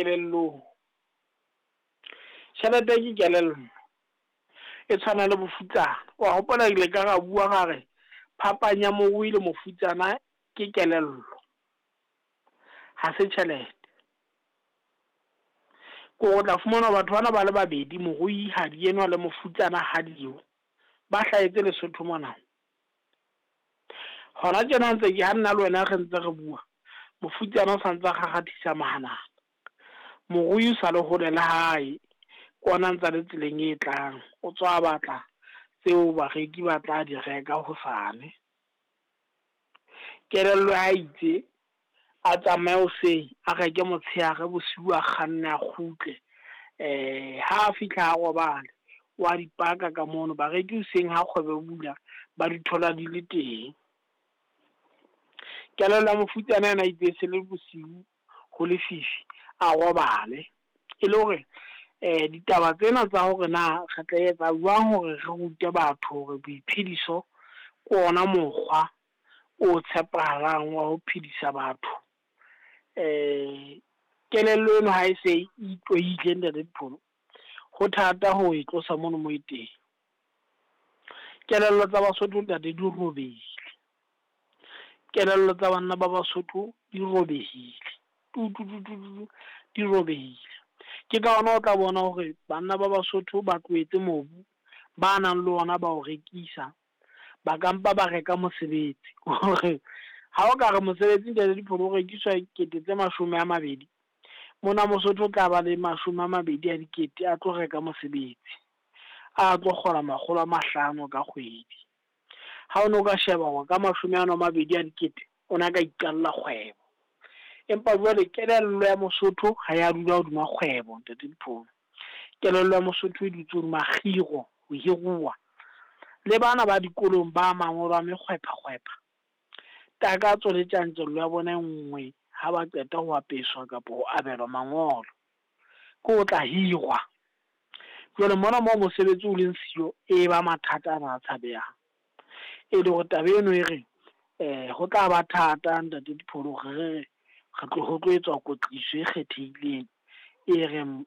kelellong. Tjhelete ke kelello, e tshwana le bofutsana. Wa hopola ile ka ra bua ra re phapang ya morui le mofutsana ke kelello, ha se tjhelete. Ko o tla fumana batho bana ba le babedi, moruihadi enwa le mofutsana hadi eo, ba hlahetse Lesotho mona. Hona tjena ntse ke ha nna le wena re ntse re bua, mofutsana o santse a kgakgathisa mahanana. Morui o sa le hole le hae, ke ona ntsa le tseleng e tlang, o tswa batla tseo bareki ba tla di reka hosane. Kelello ya itse a tsamaye hoseng, a reke motshehare, bosiu a kganne a kgutle. Ha a fihla a robale, wa di paka ka mono. Bareki hoseng ha kgwebo e bula, ba di thola di le teng. Kelello ya mofutsana yena itse se le bosiu ho lefifi a robale. E le hore ditaba tsena tsa hore na re tla etsa jwang hore re rute batho hore boiphediso ke ona mokgwa o tshepahalang wa ho phedisa batho. Kelello eno ha e se e itlwaile ntate Dipholo, ho thata ho e tlosa mono mo e teng. Kelello tsa Basotho ntate di robehile. Kelello tsa banna ba Basotho di robehile tu tu tu tu tu, di robehile. Ke ka hona o tla bona hore banna ba Basotho ba tlohetse mobu, ba nang le ona ba o rekisa, ba ka mpa ba reka mosebetsi. Hore ha o ka re mosebetsi ntate Dipholo o rekiswa 20 000, mona Mosotho o tla ba le 20 000 a tlo reka mosebetsi, a tlo kgola 500 ka kgwedi. Ha o no ka sheba hore ka 20 000 o na ka iqalla kgwebo. Empa jwale kelello ya Mosotho ha ya dula hodima kgwebo ntate Dipholo. Kelello ya Mosotho e dutse hodima kgiro, ho hiruwa. Le bana ba dikolong ba mangolo a mekgwepha-kgwepha, takatso le tjantjello ya bona e nngwe ha ba qeta ho apeswa kapa ho abelwa mangolo, ke o tla hirwa. Jwale mona moo mosebetsi o leng siyo, e ba mathata ana a tshabehang. E le hore taba eno e re ho tla ba thata ntate Dipholo hore re re re tlo ho tlo etswa kwetliso e kgethehileng e reng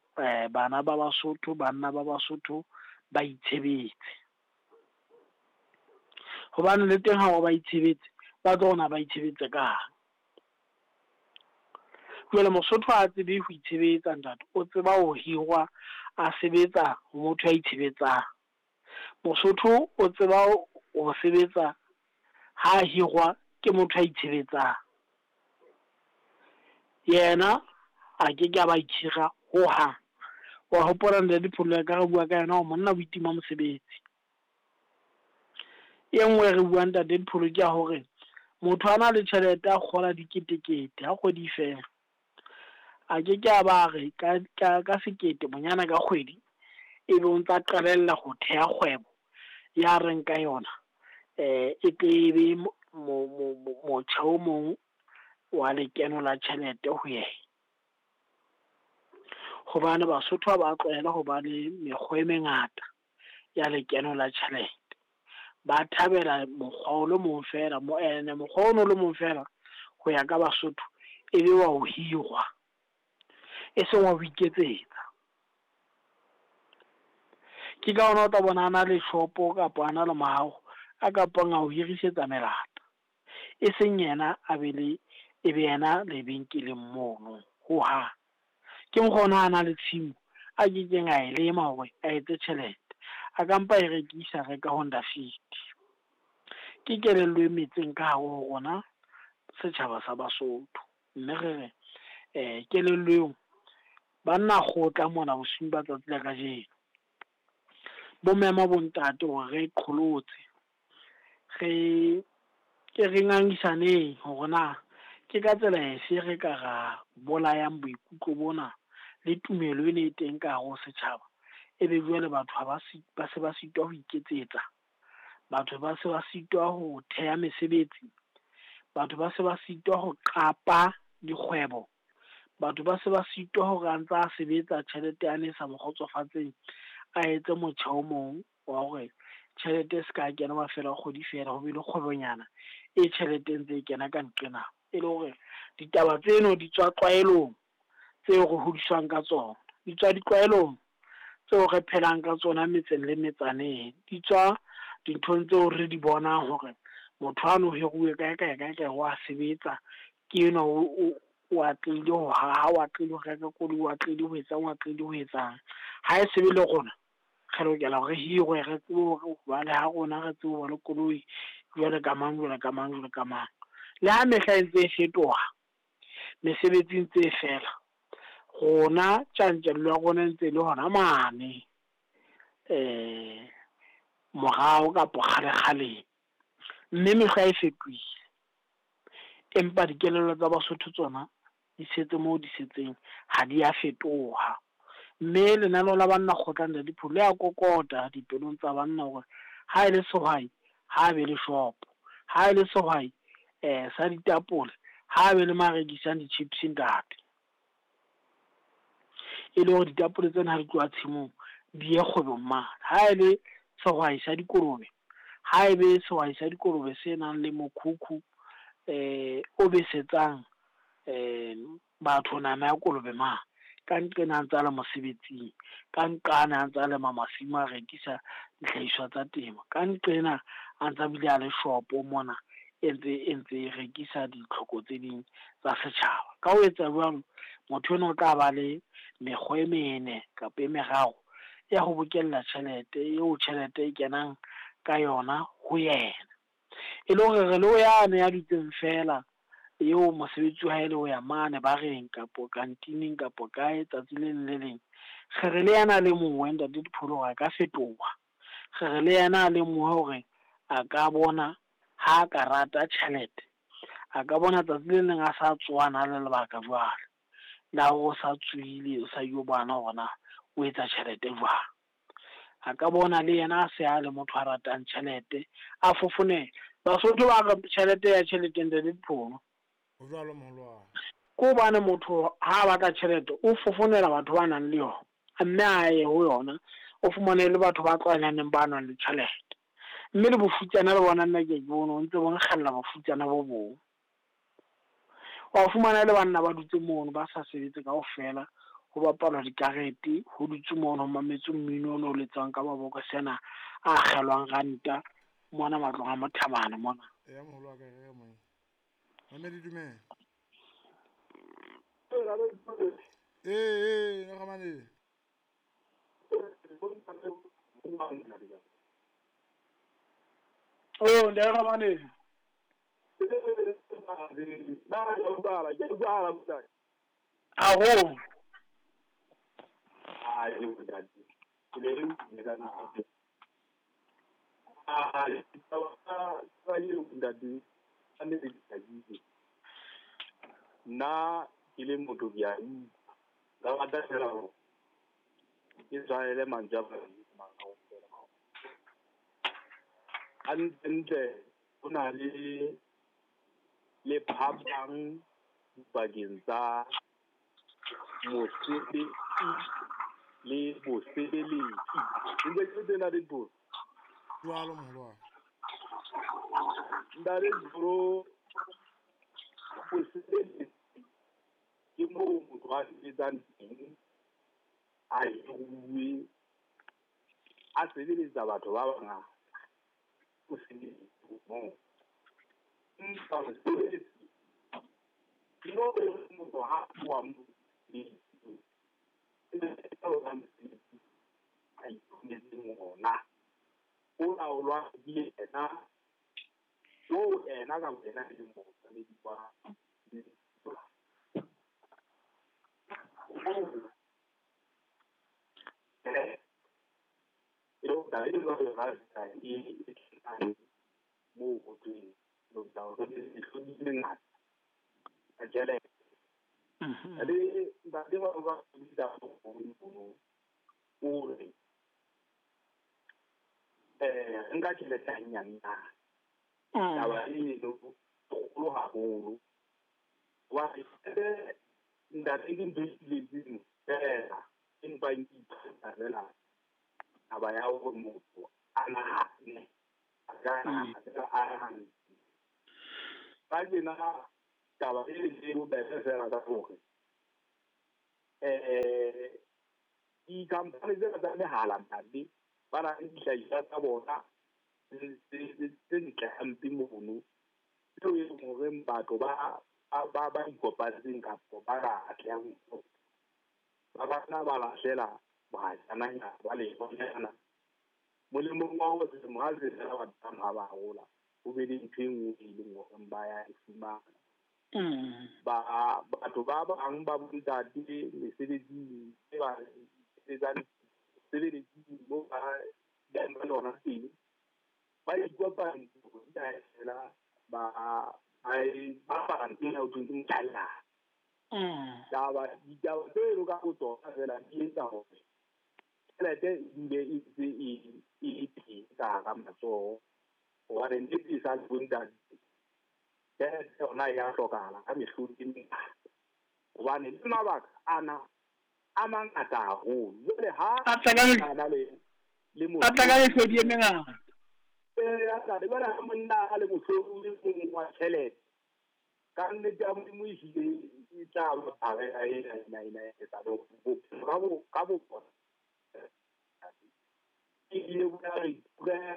bana ba Basotho, banna ba Basotho ba itshebetse. Hobane le teng ha ba itshebetse, ba tlo rona ba itshebetse kang. Jwale Mosotho ha tsebe ho itshebetsa ntate, o tseba ho hirwa a sebetsa ho motho ya itshebetsang. Mosotho o tseba ho sebetsa ha hirwa ke motho ya itshebetsang. Yena a ke ke a ba ikhira hohang. Wa hopola ntate Dipholo ka re bua ka yona hore monna o itima mosebetsi. E nngwe e re buang ntate Dipholo ke ya hore motho a na le tjhelete a kgola diketekete ha kgwedi e fela. A ke ke a ba re ka 1 000 bonyane ka kgwedi, ebe o ntsa qalella ho theha kgwebo ya reng ka yona e tle e be motjha o mong wa lekeno la tjhelete ho yena. Hobane Basotho ha ba tlwaela ho ba le mekgwa e mengata ya lekeno la tjhelete. Ba thabela mokgwa o le mong feela, ene mokgwa ono le mong feela ho ya ka Basotho e be wa ho hirwa, e seng wa ho iketsetsa. Ke ka hona o tla bona a na le shopo kapa a na le mohaho a kapang a ho hirisetsa melata, e seng yena a be le e be yena lebenkeleng mono hohang. Ke mokgwa ona a na le tshimo a kekeng a e lema hore a etse tjhelete, a ka mpa e rekisa reka Honda Fit. Ke kelello e metseng ka hare ho rona setjhaba sa Basotho. Mme re re kelello eo banna kgotla mona bosiung ba tsatsi la kajeno. Bo mema bo ntate hore re qholotse, re ke re ngangisaneng hore na ke ka tsela efe re ka ra bolayang boikutlo bona le tumelo ena e teng ka hare ho setjhaba. Ebe jwale batho ha ba ba se ba sitwa ho iketsetsa, batho ba se ba sitwa ho theha mesebetsi, batho ba se ba sitwa ho qapa dikgwebo, batho ba se ba sitwa hore a ntsa sebetsa tjhelete yane e sa mo kgotsofatseng, a etse motjha o mong wa hore tjhelete e ska kena mafelo a kgwedi feela, ho be le kgwebonyana e tjhelete e ntse e kena ka nqena. E le hore ditaba tseno di tswa tlwaelong, tseo re hodiswang ka tsona, di tswa ditlwaelong tseo re phelang ka tsona metseng le metsaneng, di tswa dinthong tseo re di bonang hore motho ano o hiruwe kae kae kae kae wa sebetsa, ke enwa o atlehile ho haha, o atlehile ho reka koloi, o atlehile ho etsang, o atlehile ho etsang. Ha e sebe le rona re lokela hore re hirwe, re tsebe hore ba le ha rona re tsebe ho ba le koloi jwale ka mang, jwale ka mang, jwale ka mang. Le ha mehla e ntse e fetoha, mesebetsi e ntse e fela, rona tjantjello ya rona e ntse e le hona mane morao kapo kgale-kgaleng. Mme mehla e fetohile, empa dikelello tsa Basotho tsona di setse moo di setseng, ha di a fetoha. Mme lenaneo la banna kgotla Ntate Pholo le a kokota dipelong tsa banna hore ha ele sehwai ha be le shopo, ha ele sehwai sa ditapole ha be le ma rekisang di-chips ntate. E le hore ditapole tsena ha di tloha tshimong di ye kgwebong mane. Ha ele sehwai sa dikolobe, ha ebe sehwai sa dikolobe se nang le mokhukhu o besetsang batho nama ya kolobe mane. Ka nqena a ntsa le mosebetsing, ka nqane a ntsa lema masimo a rekisa dihlahiswa tsa temo, ka nqena a ntsa bile a le shopo mona e ntse e rekisa ditlhoko tse ding tsa setjhaba. Ka ho etsa jwalo, motho enwa o tla ba le mekgwa e mene kapa e meraro ya ho bokella tjhelete eo tjhelete e kenang ka yona ho yena. E le hore re le ho yane ya dutseng feela eo mosebetsi wa hae le ho ya mane bareng kapo kantining kapo kae tsatsi le leng le leng, re re le yena a le mongwe Ntate Dipholo hore a ka fetoha. Re re le yena a le mongwe hore a ka bona ha a ka rata tjhelete, a ka bona tsatsi le leng a sa tsoha na le lebaka jwale la hore o sa tsohile, o sa yo bona hore na o etsa tjhelete jwang. A ka bona le yena a se a le motho a ratang tjhelete, a fofonela. Basotho ba re tjhelete ya tjhelete Ntate Dipholo. Ho jwalo moholwane. Ke hobane motho ha a batla tjhelete o fofonela batho ba nang le yona, mme a ye ho yona, o fumane le batho ba tlwaelaneng ba nang le tjhelete. Mme le bofutsana le bona nna ke bone o ntse bo nkgella bofutsana bo bong. Wa fumana le banna ba dutse mono ba sa sebetse kaofela, ho bapalwa dikarete, ho dutswe mono ho mametswe mmino ono o letswang ka mabokose ana a akgelwang ranta mona matlong a Mothabane mona. Eya moholo wa ka, re mong. Mamedi dumela. Ee, Ramane. Oh, Ntate Ramane. Haholo. Nna ke le motho ke a utlwa, nka rata feela hore ke tshwanele mantswe a kaofela. Hantlentle ho na le phapang dipakeng tsa mosebetsi le bosebeletsi. Ntse ke le teng Ntate Dipholo? Jwalo moholwane. Ntate Dipholo, bosebeletsi ke moo motho a sebetsang teng, a hiruwe, a sebeletsa batho ba bangata. O sebeletsa moo. Empa mosebetsi ke moo motho ha a tloha moo mosebetsi a iphumetseng ona. O laolwa ke yena, oo yena ka boyena e leng mookamedi wa moo ho thweng mehlodi e mengata ya tjhelete. Le ntate ba ba o re nka tjhelete hanyane na. Taba eno kgolo haholo. Wa ntate ke ntho e tletseng fela, empa ke ithuta fela taba ya hore motho a nahane, a ka nahana fela a nahane. Ka tjena taba e le bobebe fela ka hore Di-company tsena tsa mehala ntate ba na le dihlahiswa tsa bona tse ntle hampe mono, tseo e leng hore batho ba ba ikopantseng kapa ba ka atlehang ba bana ba lahlela bajananyana ba lehonyana molemong wa hore selemo ha se fela batho bano ha ba hola ho be le ntho e nngwe e leng hore ba ya e fumana. Ba batho ba bang ba bontate mesebetsing e ba sebetsang sebeletsing mo ba yang ba lona teng ba ikopantse fela ba apara ntho ena ho thweng ke motjhallane. Taba ditaba tseno ka botsona fela di etsa hore tjhelete e dule e ntse e le teng ka hara matsoho, hobane nnete e sa le bontate tjhelete yona e ya hlokahala ka mehlodi e mengata, hobane le mabaka ana a mangata haholo. Jwale ha a le a tla ka mehlodi e mengata. Ntate jwale ha monna a le mohlodi o mong wa tjhelete ka nnete ya Modimo ehlile e tla ba barela ena ena ena bophelo ka bo bona ebile bo ya re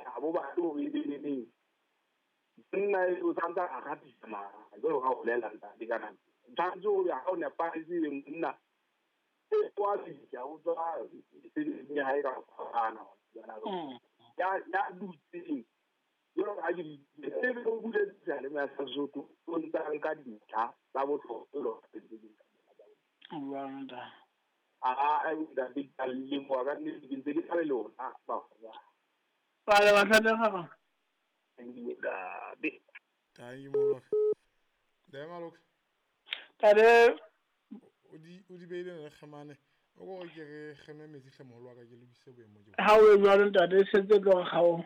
ha bo batle hore e be le neng monna o santsa a ratisa mara jwalo ka ho bolela ntate ka nako tshwanetse hore ha o nepahetse ebe monna e wa fihla o tswa mesebetsing ya hae ka fapana ya dutseng jwalo ka ha ke ebe o buletse seyalemoya sa Sesotho o ntsa nka dintlha tsa bohlokwa a ntate ke a leboha ka nnete ke ntse ke tla le lona bakgotsa. Ba le batlhatega. Thank you ntate. Thank you moholo. Ntate Maloka. Tate o di beile re kgemane o ko ke re kgeme metsi hle moholo wa ka ke lokise boemo ke ha o e jwalo ntate e setse tlo re kgao.